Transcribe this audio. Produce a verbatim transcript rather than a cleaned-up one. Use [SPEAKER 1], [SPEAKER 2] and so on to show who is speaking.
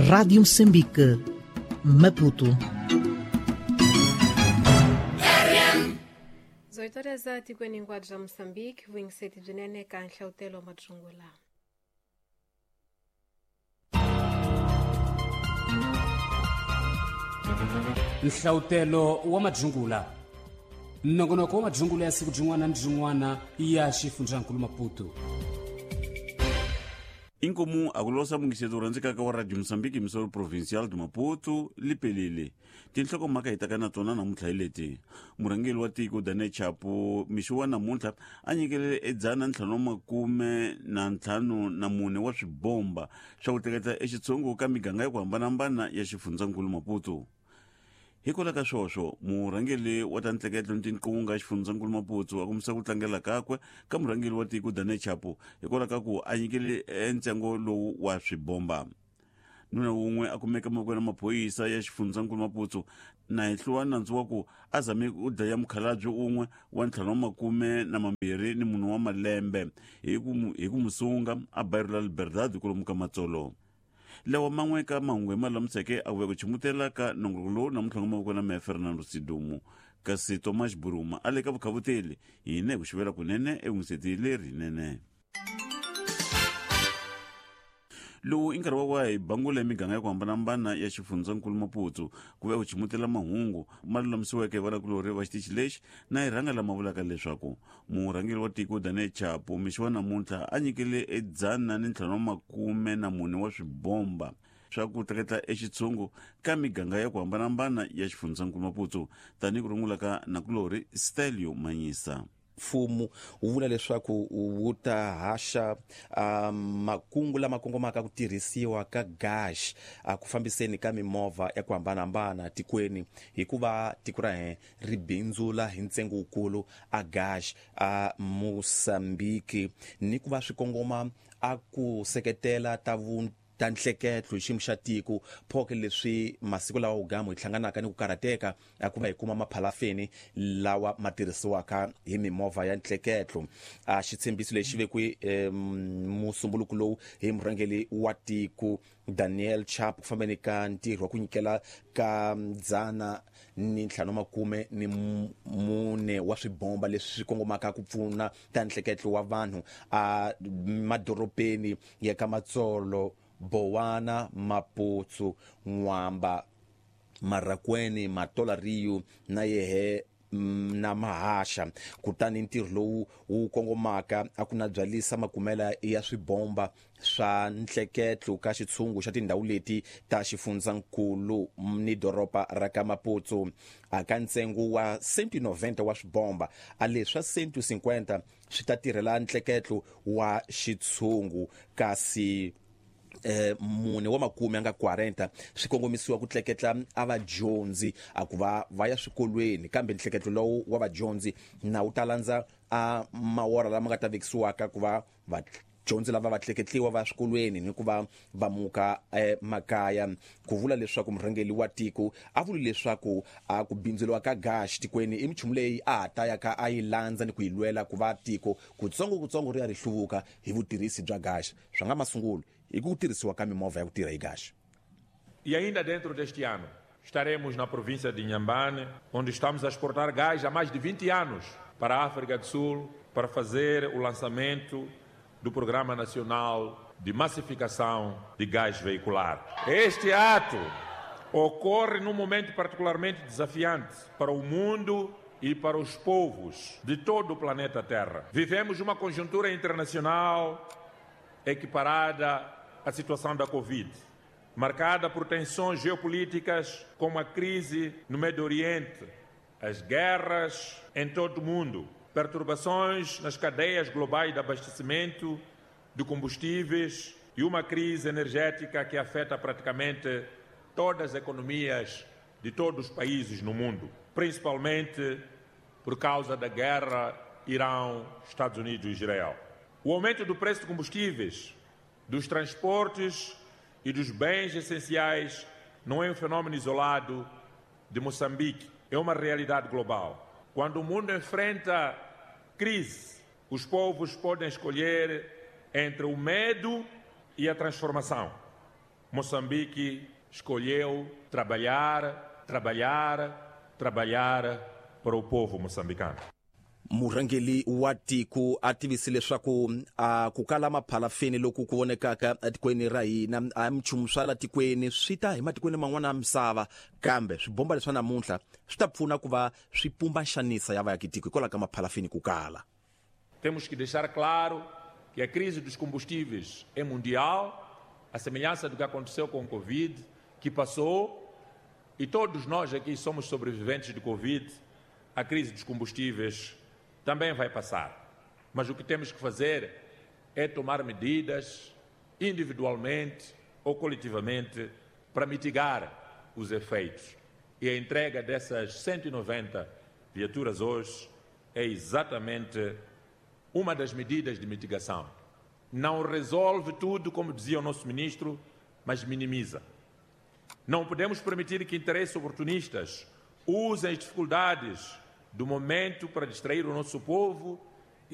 [SPEAKER 1] Rádio Moçambique, Maputo.
[SPEAKER 2] dezoito horas tikweni hinkwabyo bya Moçambique, vuyingiseti byinene ka Nhlawutelo wa Madzungula.
[SPEAKER 3] Nhlawutelo wa Madzungula, nongonoko wa Madzungula ya siku byin'wana ni byin'wana ya xifundzankulu Maputo.
[SPEAKER 4] Inkomu akulosa mungiseto rhandzekaka wa Radio Moçambique misolo provincial de Maputo lipelile. Tinhlokomhaka hi taka na tona namuntlha hi leti. Murhangeri wa tiko Daniel Chapo mixo wa namuntlha a nyikele edzana ntlhanu makume na ntlhanu na mune wa swibomba swa ku tleketla exitshungu ka miganga ya ku hambanahambana ya xifundzankulu Maputo. Hikwalaho ka swoswo, murhangeri wa ta ntleketlo ni tinqunga xifundzankulu Maputo a kombisa ku tlangela kakwe ka murhangeri wa tiko Daniel Chapo hikwalaho ka ku a nyikele ntsengo lowu wa swibomba. Nuna wun'we a kumeka mavokweni ya maphorisa ya xifundzankulu Maputo na hehliwa nandzu wa ku a zame ku dlaya mukhalabye un'we wa ntlhanu wa makume na mambirhi ni munhu wa malembe hi ku hi ku musunga a bairo la Liberdade kwalomu ka Matsolo. Lawa man'we ka mahungu hi malamiseke a vuya ku chimutela ka nongonoko lowu namuntlha nga mavoko na meya Fernando Sidumo, kasi Thomas Buruma a le ka vukhavuteli hina hi ku xivela kunene evungiseti lerinene. Lowu i nkarhi wa wa hi bangula miganga ya ku hambanahambana ya xifundzankulu Maputo ku vuya ku chimutela mahungu ma lulamisiweke hi vanakulorhi va xitichi lexi na hi rhanga lama vulaka leswaku murhangeri wa tiko Daniel Chapo mixo wa namuntlha a nyikele edzana ni ntlhanu wa makume na mune wa swibomba swa ku tleketla exitshungu ka miganga ya ku hambanahambana ya xifundzankulu Maputo, tanihi ku rungula ka nakulorhi Stelio Manyisa.
[SPEAKER 5] Mfumo wu vula leswaku wu ta haxa um, makungu lama kongomaka ku tirhisiwa ka gas a ku fambiseni ka mimovha ya ku hambanahambana tikweni, hikuva tiko ra hina ri bindzula hi ntsengo wukulu a gas a Moçambique, ni ku va swi kongoma a ku seketela ta vu ta nhleketlo hi xiyimo xa tiko phoke leswi masiku lawa wugamu hi hlanganaka ni ku karhateka a ku va hi kuma maphalafeni lawa ma tirhisiwaka hi mimovha ya nhleketlo. A xitshembiso lexi vekiwe eh, musumbuluko lowu hi murhangeri wa tiko Daniel Chapo ku fambeni ka ntirho wa ku nyikela ka dzana ni ntlhanu makume ni mune wa swibomba leswi swi kongomaka ku pfuna ta nhleketlo wa vanhu a madorobeni ya ka Matsolo, Bowana, Maputo, Nwamba, Marracuene, Matola Rio na yehe na Mahasha. Kutani ntirho lowu wu kongomaka a ku na byalisa makumela ya swibomba swa nhleketlo ka xitshungu xa tindhawu leti ta xifundzankulu ni doroba ra ka Maputo. A ka ntsengo wa cento noventa wa swibomba, a leswa cento cinquenta swi ta tirhela nhleketlo wa xitshungu, kasi eh mune wa makume anga quarenta swi kongomisiwa ku tleketla a vadyondzi a ku va va ya swikolweni, kambe nhleketlo lowu wa vadyondzi na wu ta landza a mawora lama nga ta vekisiwaka ku va vadyondzi lava va tleketliwa va swikolweni ni ku va va muka eh, makaya. Ku vula leswaku murhangeri wa tiko a vuli leswaku a ku bindzuriwa ka gas tikweni i minchumu leyi a ha ta ya ka a yi landza ni ku yi lwela ku va tiko kutsongo kutsongo ri ya ri hluvuka hi vutirhisi bya gas swa nga masungulo e ku tirhisiwa ka mimovha ya ku tirha hi gas.
[SPEAKER 6] E ainda dentro deste ano, estaremos na província de Inhambane, onde estamos a exportar gás há mais de vinte anos para a África do Sul, para fazer o lançamento do Programa Nacional de Massificação de Gás Veicular. Este ato ocorre num momento particularmente desafiante para o mundo e para os povos de todo o planeta Terra. Vivemos uma conjuntura internacional equiparada à situação da Covid, marcada por tensões geopolíticas como a crise no Médio Oriente, as guerras em todo o mundo, perturbações nas cadeias globais de abastecimento de combustíveis e uma crise energética que afeta praticamente todas as economias de todos os países no mundo, principalmente por causa da guerra Irão, Estados Unidos e Israel. O aumento do preço de combustíveis, dos transportes e dos bens essenciais não é um fenômeno isolado de Moçambique, é uma realidade global. Quando o mundo enfrenta crise, os povos podem escolher entre o medo e a transformação. Moçambique escolheu trabalhar, trabalhar, trabalhar para o povo moçambicano.
[SPEAKER 5] Murhangeri wa tiko a tivise leswaku a ku kala maphalafeni loku ku vonekaka etikweni ra hina a minchumu swa la tikweni swi ta hi matikweni man'wana ya misava, kambe swibomba leswa namuntlha swi ta pfuna ku va swi pumba nxanisa ya vaakitiko hikwalaho ka maphalafeni ku kala.
[SPEAKER 6] Temos que deixar claro que a crise dos combustíveis é mundial, a semelhança do que aconteceu com o Covid, que passou, e todos nós aqui somos sobreviventes de Covid, a crise dos combustíveis também vai passar. Mas o que temos que fazer é tomar medidas individualmente ou coletivamente para mitigar os efeitos. E a entrega dessas cento e noventa viaturas hoje é exatamente uma das medidas de mitigação. Não resolve tudo, como dizia o nosso ministro, mas minimiza. Não podemos permitir que interesses oportunistas usem as dificuldades do momento para distrair o nosso povo